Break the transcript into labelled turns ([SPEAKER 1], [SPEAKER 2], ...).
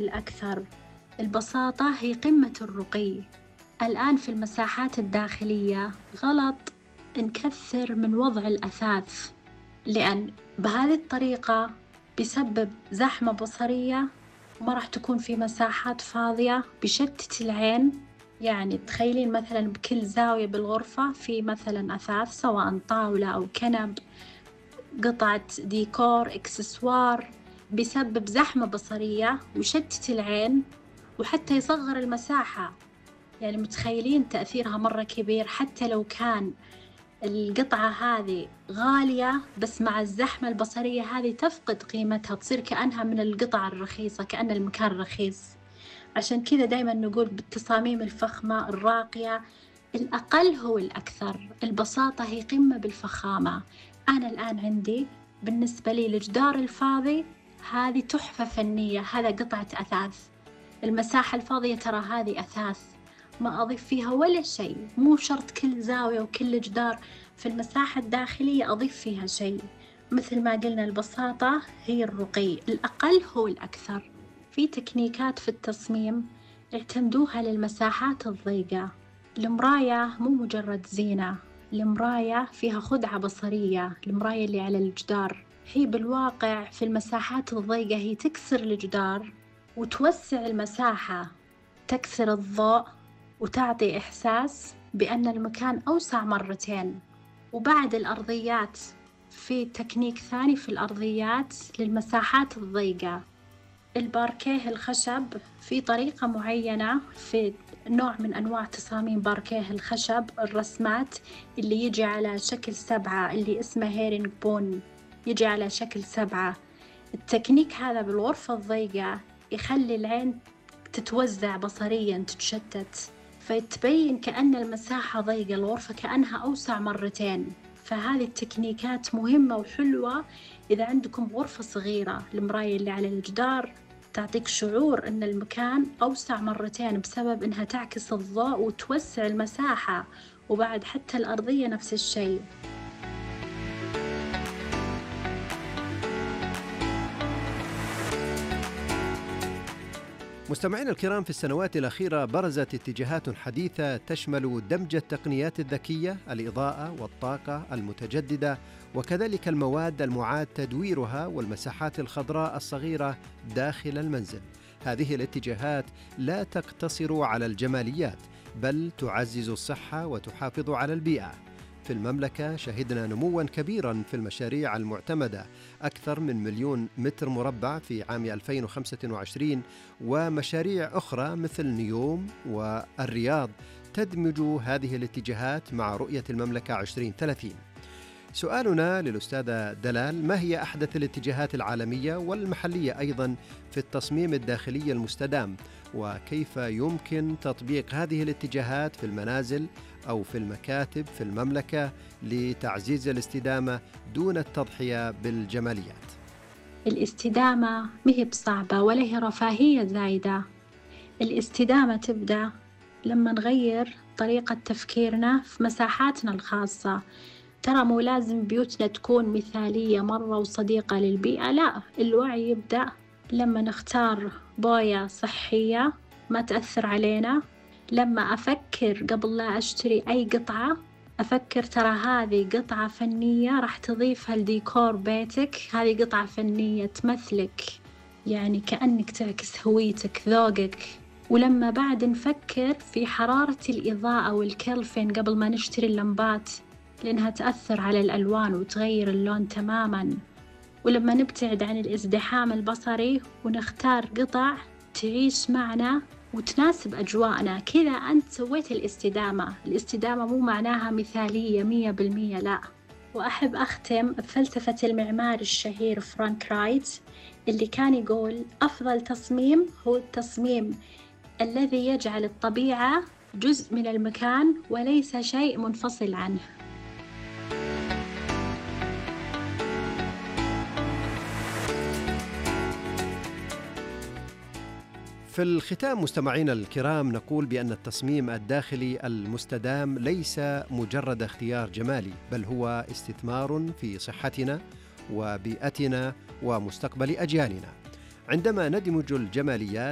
[SPEAKER 1] الأكثر. البساطة هي قمة الرقي. الآن في المساحات الداخلية غلط نكثر من وضع الأثاث، لأن بهذه الطريقة بيسبب زحمة بصرية وما راح تكون في مساحات فاضية، بيشتت العين. يعني تخيلين مثلا بكل زاوية بالغرفة في مثلا أثاث، سواء طاولة أو كنب، قطعة ديكور، إكسسوار، بيسبب زحمة بصرية ويشتت العين وحتى يصغر المساحة. يعني متخيلين تأثيرها مرة كبير، حتى لو كان القطعة هذه غالية، بس مع الزحمة البصرية هذه تفقد قيمتها، تصير كأنها من القطع الرخيصة، كأن المكان رخيص. عشان كذا دايما نقول بالتصاميم الفخمة الراقية الأقل هو الأكثر. البساطة هي قمة بالفخامة. أنا الآن عندي بالنسبة لي الجدار الفاضي هذه تحفة فنية، هذا قطعة أثاث. المساحة الفاضية ترى هذه أثاث، ما أضيف فيها ولا شيء. مو شرط كل زاوية وكل جدار في المساحة الداخلية أضيف فيها شيء. مثل ما قلنا البساطة هي الرقي، الأقل هو الأكثر. في تكنيكات في التصميم اعتمدوها للمساحات الضيقة. المراية مو مجرد زينة، المراية فيها خدعة بصرية. المراية اللي على الجدار هي بالواقع في المساحات الضيقة هي تكسر الجدار وتوسع المساحة، تكسر الضوء وتعطي إحساس بأن المكان أوسع مرتين. وبعد الأرضيات في تكنيك ثاني في الأرضيات للمساحات الضيقة، الباركيه الخشب في طريقة معينة، في نوع من أنواع تصاميم باركيه الخشب، الرسمات اللي يجي على شكل 7 اللي اسمه هيرينج بون، يجي على شكل 7. التكنيك هذا بالغرفة الضيقة يخلي العين تتوزع بصرياً، تتشتت، فتبين كأن المساحة ضيقة، الغرفة كأنها أوسع مرتين. فهذه التكنيكات مهمة وحلوة إذا عندكم غرفة صغيرة. المراية اللي على الجدار تعطيك شعور أن المكان أوسع مرتين بسبب أنها تعكس الضوء وتوسع المساحة. وبعد حتى الأرضية نفس الشيء.
[SPEAKER 2] مستمعينا الكرام، في السنوات الأخيرة برزت اتجاهات حديثة تشمل دمج التقنيات الذكية، الإضاءة والطاقة المتجددة، وكذلك المواد المعاد تدويرها والمساحات الخضراء الصغيرة داخل المنزل. هذه الاتجاهات لا تقتصر على الجماليات، بل تعزز الصحة وتحافظ على البيئة. في المملكة شهدنا نمواً كبيراً في المشاريع المعتمدة، أكثر من 1,000,000 متر مربع في عام 2025، ومشاريع أخرى مثل نيوم والرياض تدمج هذه الاتجاهات مع رؤية المملكة 2030. سؤالنا للأستاذة دلال: ما هي أحدث الاتجاهات العالمية والمحلية أيضاً في التصميم الداخلي المستدام، وكيف يمكن تطبيق هذه الاتجاهات في المنازل أو في المكاتب في المملكة لتعزيز الاستدامة دون التضحية بالجماليات؟
[SPEAKER 1] الاستدامة مهي بصعبة ولا هي رفاهية زايدة. الاستدامة تبدأ لما نغير طريقة تفكيرنا في مساحاتنا الخاصة. ترى مو لازم بيوتنا تكون مثالية مرة وصديقة للبيئة، لا، الوعي يبدأ لما نختار بوية صحية ما تأثر علينا. لما أفكر قبل لا أشتري أي قطعة، أفكر ترى هذه قطعة فنية راح تضيفها لديكور بيتك، هذه قطعة فنية تمثلك، يعني كأنك تعكس هويتك، ذوقك. ولما بعد نفكر في حرارة الإضاءة والكلفين قبل ما نشتري اللمبات، لأنها تأثر على الألوان وتغير اللون تماماً. ولما نبتعد عن الازدحام البصري ونختار قطع تعيش معنا وتناسب أجواءنا، كذا أنت سويت الاستدامة. الاستدامة مو معناها مثالية 100%، لا. وأحب أختم بفلسفة المعمار الشهير فرانك رايت اللي كان يقول: أفضل تصميم هو التصميم الذي يجعل الطبيعة جزء من المكان وليس شيء منفصل عنه.
[SPEAKER 2] في الختام مستمعينا الكرام، نقول بأن التصميم الداخلي المستدام ليس مجرد اختيار جمالي، بل هو استثمار في صحتنا وبيئتنا ومستقبل أجيالنا. عندما ندمج الجماليات